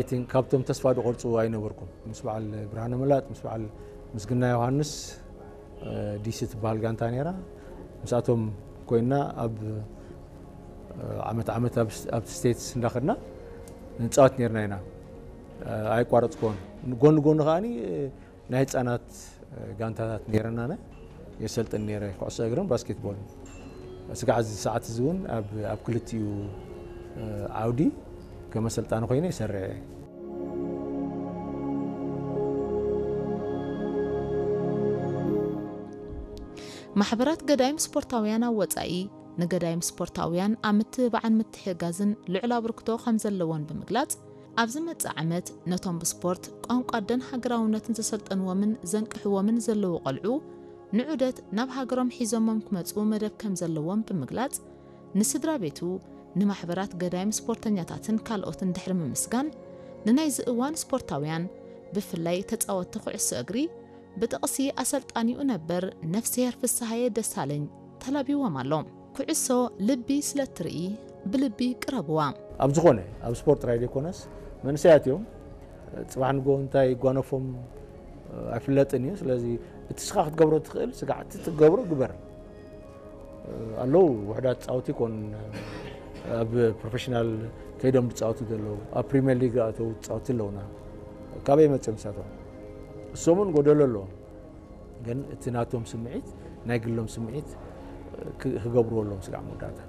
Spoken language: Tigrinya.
I think ካብቶም ተስፋ ዝቆርፁ ኣይነበርኩም። ምስ በዓል ብርሃነ መላጥ፣ ምስ በዓል ምስግና ዮሃንስ፣ እ፣ ዲሲ ትበሃል ጋንታ ነይራ። ምስኣቶም ኮይና ኣብ፣ እ፣ ዓመት ዓመት ኣብ ስ-፣ ኣብ ስቴትስ እንዳኸድና ንፃወት ነይርና ኢና። እ፣ ኣይቋረፅኩዎን። ጎኒ ጎኒ ከዓኒ፣ እ፣ ናይ ህፃናት፣ እ፣ ጋንታታት ነይረና። የሰልጥን ነይረ፣ ኩዕሶ እግርን ባስኬትቦልን። ስጋዕ እዚ ሰዓት እዚ እውን ኣብ፣ ኣብ ክልቲኡ፣ እ፣ ዓውዲ ከም ኣሰልጣኒ ኮይነ ይሰርሕ እየ። ማሕበራት ገዳይም ስፖርታውያን ኣብ ወጻኢ ንገዳይም ስፖርታውያን ኣብ ምትብባዕን ምትሕግጋዝን ልዑል ኣበርክቶ ከም ዘለዎን ብምግላጽ፣ ኣብ ዝመጽእ ዓመት ነቶም ብስፖርት፣ ቋንቋ ኣደን ሃገራውነትን ዘሰልጠንዎምን ዘንቅሕዎምን ዘለዉ ቆልዑ ንዑደት ናብ ሃገሮም ሒዞሞም ክመጹ መደብ ከም ዘለዎም ብምግላጽ፣ ንስድራ ቤቱ፣ ንማሕበራት ገዳይም ስፖርተኛታትን ካልኦትን ድሕሪ ምምስጋን፣ ንናይዚ እዋን ስፖርታውያን፣ ብፍላይ ተጻወትቲ ኩዕሶ እግሪ፣ ብጥቕሲ ኣሰልጣኒኡ ነበር ነፍስሄር ፍስሃየ ደሳለኝ ተላቢዎም ኣሎ። ኩዕሶ ልቢ ስለ እትርኢ ብልቢ ቅረብዋ። ኣብ ዝኾነ፣ ኣብ ስፖርት ጥራይ ዘይኮነስ፣ መንእሰያት እዮም። ጽባሕ ንግሆ እንታይ ይጓነፎም ኣይፍለጥን እዩ። ስለዚ እቲ ስኻ ክትገብሮ ትኽእል ስጋዕ እቲ ትገብሮ ግበር። ኣለዉ ውሑዳት ጻወቲ ይኮን ኣብ ፕሮፌሽናል ከይዶም ዝጻወቱ ዘለዉ፣ ኣብ ፕሪምየር ሊግ ኣተዉ ጻወቲ ኣለዉና። ካበይ መጽኦም ንሳቶም? እሶምን ጎደሎ ኣለዎም። ግን እቲ ናቶም ስምዒት፣ ናይ ግሎም ስምዒት ክ-፣ ክገብርዎ ኣለዎም ስጋዕ መወዳእታ።